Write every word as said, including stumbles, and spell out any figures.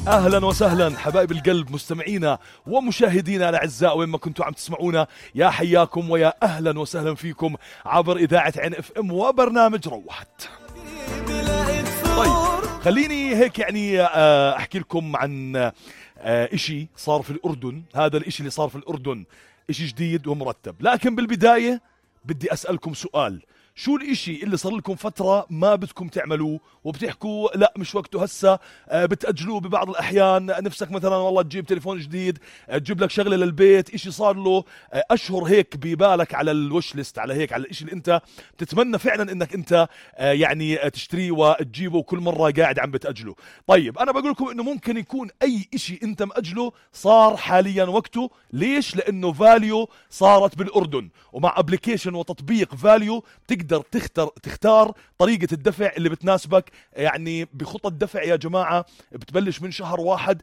أهلا وسهلا حبايب القلب مستمعينا ومشاهدينا الأعزاء وين ما كنتوا عم تسمعونا، يا حياكم ويا أهلا وسهلا فيكم عبر إذاعة عين اف ام وبرنامج روحت. طيب خليني هيك يعني أحكي لكم عن إشي صار في الأردن. هذا الإشي اللي صار في الأردن إشي جديد ومرتب، لكن بالبداية بدي أسألكم سؤال: شو الاشي اللي صار لكم فترة ما بدكم تعملوه وبتحكوا لا مش وقته هسا، آه بتأجلوه ببعض الأحيان؟ نفسك مثلا والله تجيب تليفون جديد، آه تجيب لك شغلة للبيت، اشي صار له آه أشهر هيك ببالك على الوش ليست، على هيك على الاشي اللي انت بتتمنى فعلا انك انت آه يعني آه تشتريه وتجيبه وكل مرة قاعد عم بتأجله. طيب أنا بقول لكم إنه ممكن يكون أي اشي انت مأجله صار حاليا وقته. ليش؟ لأنه فاليو صارت بالأردن، ومع ابليكيشن وتطبيق فاليو تقدر تختار تختار طريقة الدفع اللي بتناسبك. يعني بخطة دفع يا جماعة بتبلش من شهر واحد